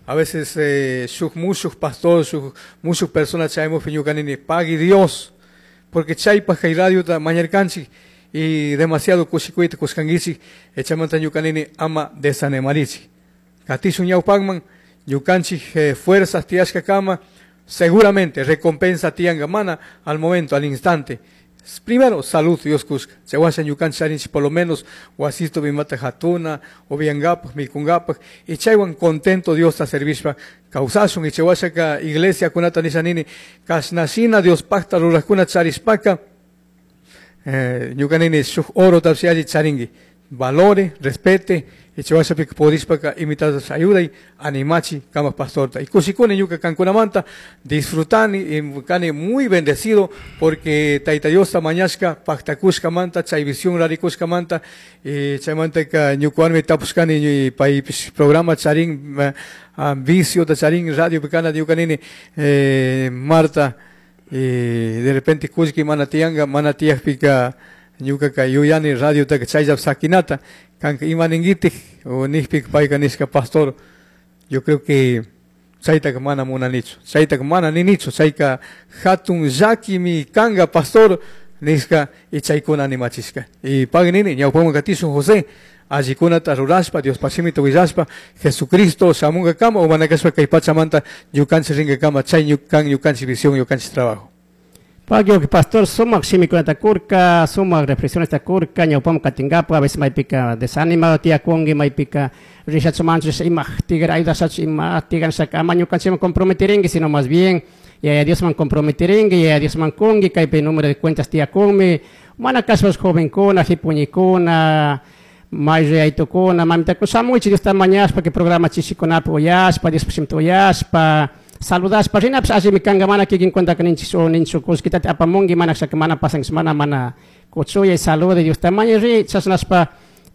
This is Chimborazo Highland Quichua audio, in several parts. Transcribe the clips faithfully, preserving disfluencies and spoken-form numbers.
A veces eh, shuk mushuk pastor, shuk mushuk persona chayamukpi ñuka nini pagui Dios, porque chaypaj kay radiota mañarkanchik y demasiado kushikuyta kushkankichik, chaymanta ñuka nini ama desanimarichik. Katishun ñawpakman, ñukanchik eh, fuerzas tiyashkakama, seguramente recompensa tiyanka mana al momento, al instante. Primero, salud Dios kushka. Chaywasha ñukanchik charinchik por lo menos wasito imata hatuna, upiangapak, mikungapak, y chaywan contento Diosta servishpa kawsashun, y chaywashaka iglesia kunata nisha nini, kashnashina Diospakta rurakkuna charishpaka, eh, ñuka nini shuk oro tapish alli charinki, valore, respete, y chaywashapika pudishpaka imitatas ayuday, animachi kama pastorta. Y kushikuni ñuka kankunamanta, disfrutani, y kani muy bendecido, porque Tayta Diosta mañashka, paktakushkamanta, chay visión rarikushkamanta, y chaymantaka ñukawanmi tapushkani paypish programa charin, uh, vicio charin radio kana ñuka nini, eh, Marta, y de repente kullki mana tiyanka, mana tiyakpika ñukaka yuyani radiotaka chayllapi sakinata, kanka ima ninkitik, o nijpika payka nishka pastor, yo creo que chaytaka mana munanichu, chaytaka mana ninichu, chayka hatun llakimi kanka pastor, nishka y chaykuna animachishka. Y pagui nini, ñawpaman katishun José, allikunata rurashpa, Diospaj shimita willashpa, Jesucristo shamunkakama o mana kashpa kay pachamanta ñukanchik rinkakama, chay ñukan ñukanchik visión, ñukanchik trabajo. Pagui pastor, sumak shimikunata kurka, sumak reflexiones kurka, ñawpaman katinkapak, a veces maypika desanimado tiyakunki, maypika rishachumanchu ima tigra ayudashachu ima tiganshaka ama ñukanchikman comprometirinki, sino más bien yaya Diosman comprometirinki, yaya Diosman kunki, kaypi número de cuentas tiyakunmi, mana kashpash jovenkuna, jipuñikuna, mayriaytukuna, mamitakuna, shamuychik Diosta mañashpa, que programa chishikunapi uyashpa, Diospaj shimita uyashpa, saludashpa, rinapish allimi kanka, mana kikin cuenta ninchik o ninchu kullkitata apamunki, mana shaka mana pasankish, mana mana kuchuyay, salude Diosta mañay ri, chashnashpa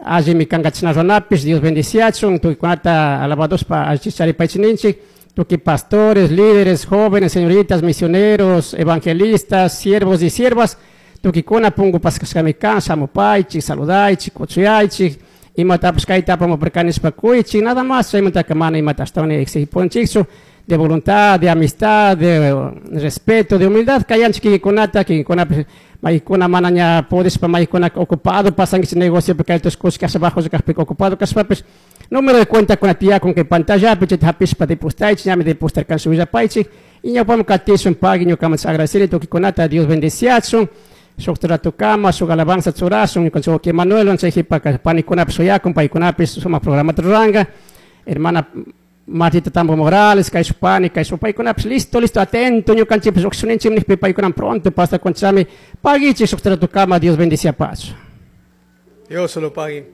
allimi kanka chashna runapish, Dios bendiciachun, tukuykunata alabadospa allichik charipaychik ninchik, tukuy pastores, líderes, jóvenes, señoritas, misioneros, evangelistas, siervos y siervas, tukuykuna punku paskashkami kan, shamupaychik, saludaychik, kuchuyaychik, imatapish kayta apamuparkani nishpa kuychik, nada más, chaymantaka mana imata ashtawan exigipunchikchu, de voluntad, de amistad, de respeto, de humildad, kayanchik kikinkunata, kikinkunapish maykuna mana ña pudishpa maykuna ocupado pasankichik negocio kayta kushka bajo kajpika ocupado kashpapish, número de cuenta kuna tiyakun kay pantallapi chayta hapishpa depositaychik, ñami depositarkanchik willapaychik, y ñawpaman katishun pagui ñukaman agradeceri tukuykunata, Dios bendeciachun, shuk ratukama, shuk alabanza churashun, ñukanchik wawki Manuel, chay jipaka panikunapish shuyakun, paykunapish sumak programata ruranka, hermana Martita Tambo Morales, kayshuk pani, kayshuk paykunapish listo, listo, atento, ñukanchikpish lluqshishunchik nijpi paykunan pronto pasa conchami, paguichik shuk ratukama, Dios bendiciapachu. Dios se lo pague.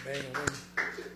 Amén, amén.